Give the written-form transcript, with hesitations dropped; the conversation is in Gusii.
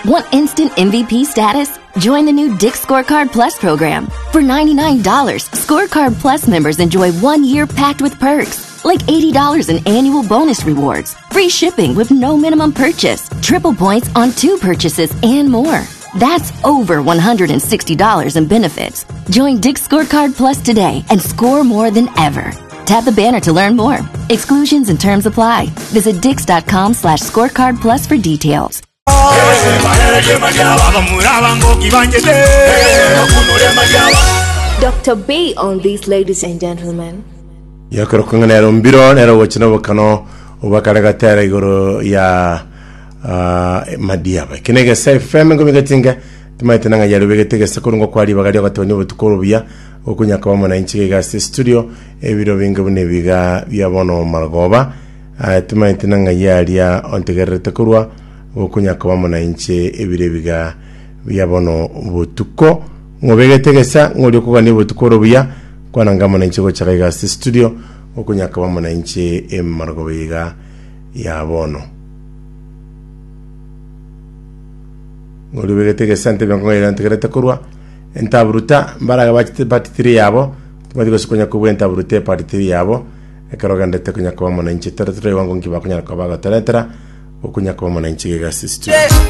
Want instant MVP status? Join the new Dick's Scorecard Plus program. For $99, Scorecard Plus members enjoy one year packed with perks, like $80 in annual bonus rewards, free shipping with no minimum purchase, triple points on two purchases, and more. That's over $160 in benefits. Join Dick's Scorecard Plus today and score more than ever. Tap the banner to learn more. Exclusions and terms apply. Visit dix.com slash scorecard plus for details. Dr. B on this, ladies and gentlemen. Yokero kong'ana nero mbiro nero gocha nobokano obakare gatera igoro ya ah, madiaba eke negesa fm ngomigatinga timaete nang'a yari obegete egesa korwa ngokwa ribaga riogotebania obotuko obuya okonyaka bamo na inche iga ase studio ebiro binge buna ebiga bia bono marogoba Ah, timaete nang'a yaria ontegererete korwa okonyaka bamo na inche ebiro ebiga bia bono botuko ng'obegete egesa ng'oria okogania obotuko ore obuya kwananga amo na inche gochaka iga ase studio okonyaka bamo na inche emarogoba iga ya bono ng'oria obegete egesa ntebia nkong'aira ntegerete korwa entaburuta mbaraga bachete part 3 yabo timanyeti gose konya kobua entaburuta epart 3 yabo Ekero ogenderete konya koba amo nainche, tore toraigwa ng'o nki bakonyara koba bagotoretera, okonya koba amo nainche iga ase studio.